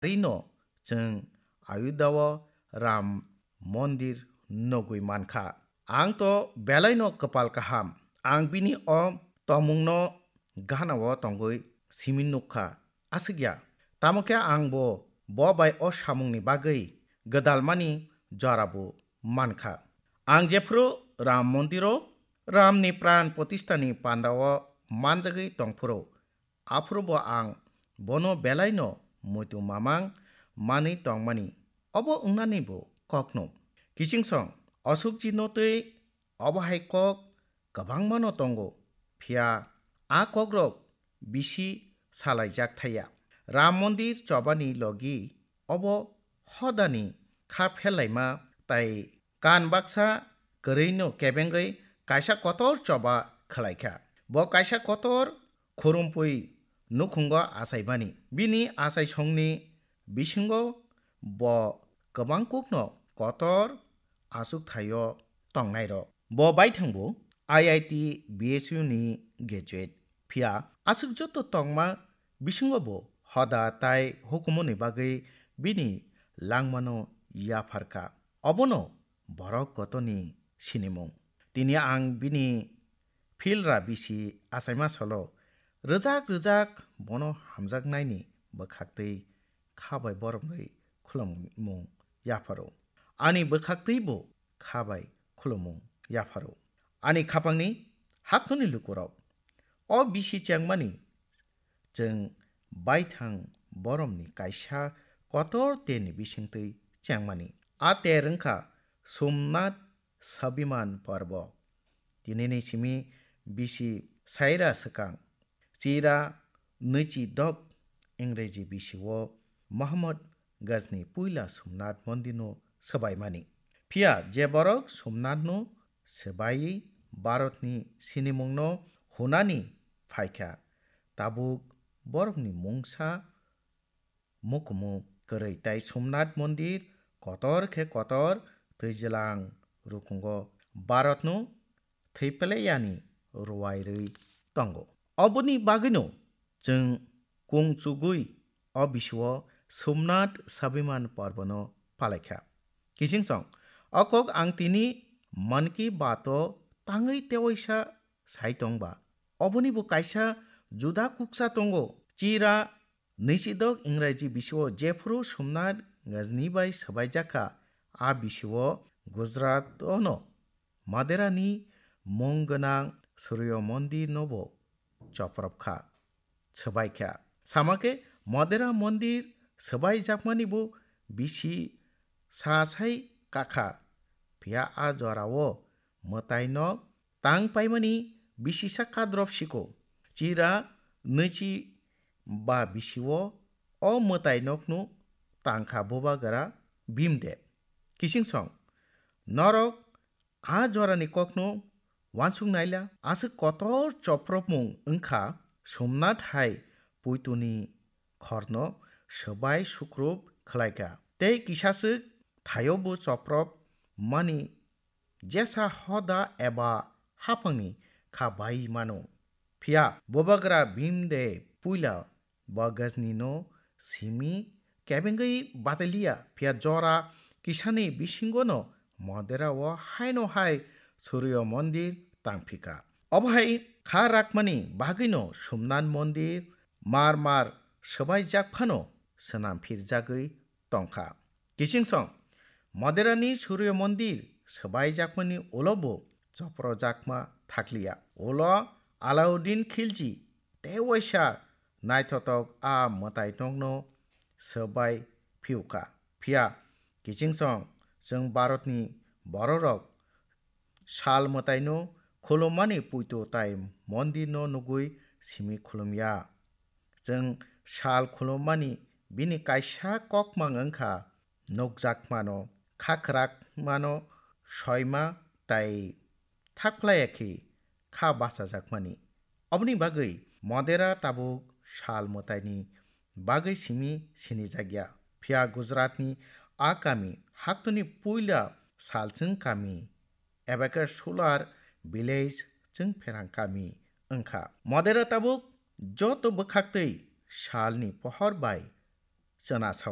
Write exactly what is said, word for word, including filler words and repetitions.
Rino chwng Ayodhya o Ram Mondir nugwi mankha. Ang to belaino kwpal kaham. Ang bini o tomungno gana o tongwi simi nukkha. Aswk ya. Tamo khe ang bo, bo bai o samungni bagwi gwdalmani jora bo mankha. Ang jephuru Ram Mondiro Ramni pran protishtani pandao manjagwi tongphuru, aphuru bo ang bono belaino muitu mamang manwi tongmani, obo wngnani bo kokno. Kichingsong, Ashokjino twi obo hai kok kwbangmano tongo, phiya a kokrok bisi salaijak thaya. Ram Mondir chobani logi obo hodani kha pherlaima tai kan baksa kwrwino kebengwi kaisa kotor choba khwlaikha. Bo kaisa kotor khurumpui nukhungo achaimani. Bini achaisongni bisingo bo kwbangkukno kotor achukthai-o tongnairok. Bo baithangbo I I T B S U ni graduate. Phiya aswk joto tongma bisingo bo hoda tai hukumuni bagwi bini langmano yapharkha. Obono borok kotoni sinimung. Tini ang bini philra bisi achaima salo rwjak rwjak bono hamjaknaini bwkhaktwi kha bai boromrwi khulumung yapharo. Ani bwkhaktwi bo kha bai khulumung yapharo. Ani khapangni haktoni lukurok, o bisi chengmani chwng baithang boromni kaisa kotor terni bisingtwi chengmani. A ter wngkha Somnath Sabiman Parbo. Tinini simi bisi saira swkang, chira nwichi dok Ingreji bisio Mohammad Ghazni puila Somnath Mondirno swbaimani. Phiya je borok Somnathno swbaiwi Bharatni sinimungno hunani phaikha, tabuk borokni mungsa mukumu kwrwi tai Somnath Mondir kotor khe kotor twijlang rukungo Bharatno thwi pele yani ruwai rwi tongo. Oboni bagwino chwng kung chugwi o bisio Somnath Sabiman Parbono palaikha. Kichingsong, o kok ang tini Mann Ki Baat o tangwi tewaisa sai tongba. Oboni bo kaisa juda kuksa tongo. Chira nwichidok Ingreji bisio jephuru Somnath Ghazni bai swbaijakha, a bisio Gujarat ono Maderani mung gwnang Suryo Mondir nobo choprop kha, swbai kha. Sama khe Madera Mondir swbai jakmani bo bisi sa sai kakha. Phiya a jorao mwtai nok tang paimani bisisa kadrop siko. Chira nwichi ba bisio o mwtai nokno tangkha bubagra Bhimdev. Kichingsong, norok a jorani kokno wansuk naila, aswk kotor chopropmung wngkha Somnath hai puituni khorno swbai sukrup khlaikha. Tei kisaswk thaio bo choprop mani jesa hoda eba haphangni kha bai mano. Phiya bubagra Bhimdev puila bo Ghazni no simi kebengwi bataliya, phiya jora kisani bisingo no Madera o haino hai Suryo Mondir tangphika. Obo hai kha rakmani bagwino Somnath Mondir mar mar swbaijak phano swnam phirjagwi tongkha. Kichingsong, Maderani Suryo Mondir swbaijakmani ulo bo choprojakma thakliya. Ulo Alauddin Khilji tewaisa naithotok a mwtai nokno swbai phiukha. Phiya kichingsong chwng Bharatni bororok sal mwtaino khulummani puito tai mondirno nugwi simi khulumya. Chwng sal khulummani bini kaisa kokmang wngkha nukjakmano, khakhwrakmano, soima tai thakphlaiya khe kha bachajakmani. Oboni bagwi Madera tabuk sal mwtaini bagwi simi sinijakya. Phiya Gujaratni a kami haktoni puila salchwng kami eba khe Sular village chwng pherang kami wngkha. Madera tabuk joto bwkhaktwi salni pohor bai chwna sao.